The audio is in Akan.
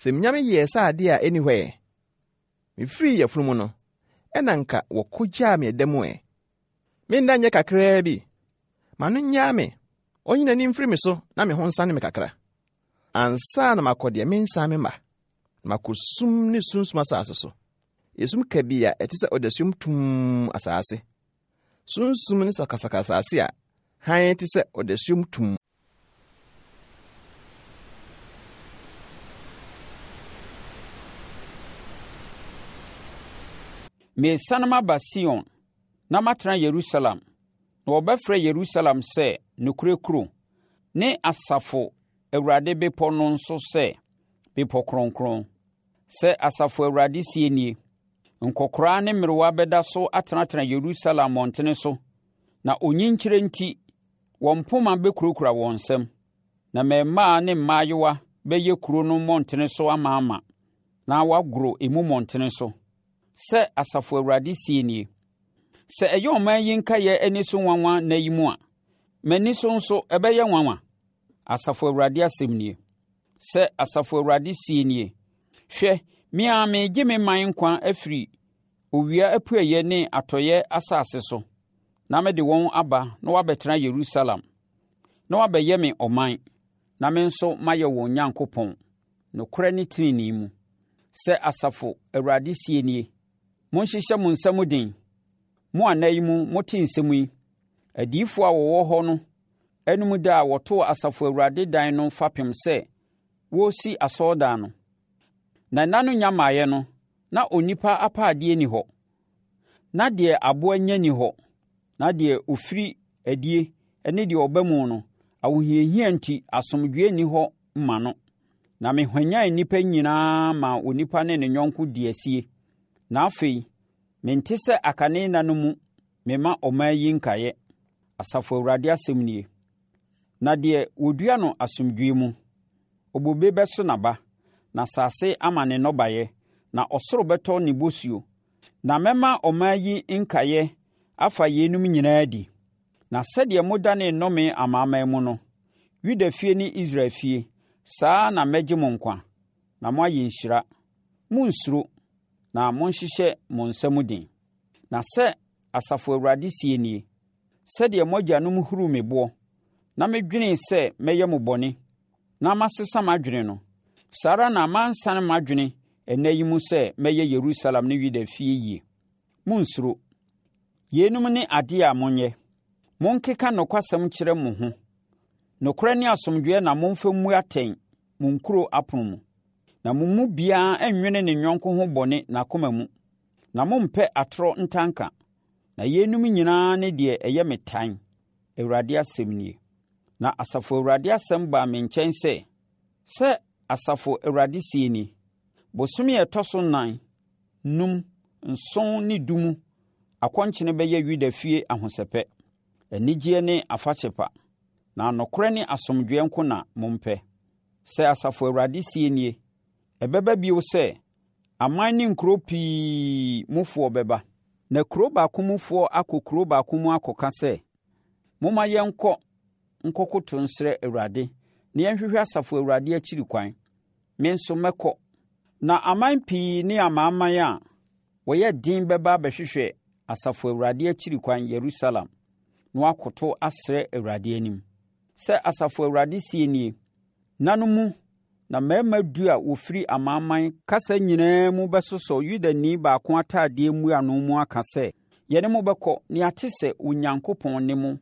Sɛ minya meyɛɛ sɛ ade a enni hɔ ɛ! Mifirii yafunu mu no, ɛna anka wɔkogyaa me ɛda mu ɛ! Me nna nyɛ kakraa bi. Ma no nnyaa me, onyi n'ani mfiri me so na me ho nsane me kakra. Ansa na makɔ deɛ mensan memma, na makɔ sum ne sunsum asase so, esum kabii a ɛte sɛ ɔdasuom tumm asase, sunsum ne sakasaka asase a hann te sɛ ɔdasuom tumm. Meresane maba Sion na matena Yerusalem, na wɔbɛfrɛ Yerusalem sɛ nokorɛ kuro, ne asafo Awurade bepɔ no nso sɛ bepɔ kronkron. Sɛ asafo Awurade seɛ nie, Nkɔkoraa ne mmerewa bɛda so atenatena Yerusalem mmɔntene so, na onyinkyerɛ nti wɔn mpoma bɛkurakura wɔn nsam, na mmarimaa ne mmaayewa bɛyɛ kuro no mmɔntene so amaama, na wɔagoro emu mmɔntene so. Sɛ Asafo Awurade seɛ nie, Sɛ ɛyɛ ɔman yi nkaeɛ ani so nwanwa nna yi mu a, m'ani so nso ɛbɛyɛ nwanwa? Asafo Awurade asɛm nie. Sɛ Asafo Awurade seɛ nie, Hwɛ, me ara meregye me man nkwa afiri owia apueeɛ ne atɔeɛ asase so, na mede wɔn aba na wɔabɛtena Yerusalem, na wɔabɛyɛ me ɔman, na me nso mayɛ wɔn Nyankopɔn, nokorɛ ne tenenee mu. Sɛ Asafo Awurade seɛ nie, Monhyehyɛ mo nsa mu den, mo a nna yi mu mote nsɛm yi, adiyifoɔ a wɔwɔ hɔ no anom da a wɔtoo Asafo Awurade dan no fapem sɛ wɔresi asɔredan no. Na nna no nnya mmaeɛ no, na onipa apaadeɛ nni hɔ, na deɛ aboa nya nni hɔ, na deɛ ɔfiri adie ne deɛ ɔba mu no, ahohiahia nti asomdwoeɛ nni hɔ mma no. Na mehwanyan nnipa nyinaa maa onipa ne ne yɔnko dii asie. Na afei, mente sɛ akane nna no mu mema ɔman yi nkaeɛ, Asafo Awurade asɛm nie. Na deɛ wɔdua no asomdwoeɛ mu, obobe bɛso n'aba, na asase ama ne nnɔbaeɛ, na ɔsoro bɛtɔ ne bosuo. Na mɛma ɔman yi nkaeɛ afa yeinom nyinaa adi. Na sɛdeɛ modanee nnome amanaman mu no, Yuda fie ne Israel fie, saa ara na mɛgye mo nkwa, na moayɛ nhyira. Monnsuro, na monhyehyɛ mo nsa mu den. Na sɛ Asafo Awurade seɛ nie, Sɛdeɛ mo agyanom huruu me boɔ, na medwenee sɛ mɛyɛ mo bɔne, na masesa m'adwene no, saa ara na mansane m'adwene ɛnnɛ yi mu sɛ mɛyɛ Yerusalem ne Yuda fie yie. Monnsuro. Yeinom ne adeɛ a monyɛ. Monkeka nokwasɛm nkyerɛ mo ho. Nokorɛ ne asomdwoeɛ na momfa mmu atɛn mo nkuro apono mu. Na mo mu biara nnwene ne yɔnko ho bɔne n'akoma mu, na mommpɛ atorɔ ntanka. Na yeinom nyinaa ne deɛ ɛyɛ me tan, Awurade asɛm nie. Na Asafo Awurade asɛm baa me nkyɛn sɛ, Sɛ Asafo Awurade seɛ nie, Bosome a ɛtɔ so nnan, num, nson ne du mu akɔnkyene bɛyɛ Yuda fie ahosɛpɛ, anigyeɛ ne afahyɛ pa, na nokorɛ ne asomdwoeɛ nko na mompɛ. Sɛ Asafo Awurade seɛ nie, Ɛbɛba bio sɛ Aman ne nkuro pii mufoɔ bɛba. Na kuro baako mufoɔ akɔ kuro baako mu akɔka sɛ, 'Momma yɛnkɔ nkɔkoto nsrɛ Awurade na yɛnhwehwɛ Asafo Awurade akyiri kwan. Me nso mɛkɔ. Na aman pii ne amanaman a wɔyɛ den bɛba abɛhwehwɛ Asafo Awurade akyiri kwan Yerusalem, na wɔakoto asrɛ Awurade anim. Sɛ Asafo Awurade seɛ nie, Nna no mu na mmarima du a wɔfiri amanaman kasa nyinaa mu bɛsosɔ Yudani baako atadeɛ mmuano mu aka sɛ, Yɛne mo bɛkɔ, na yɛate sɛ Onyankopɔn ne mo.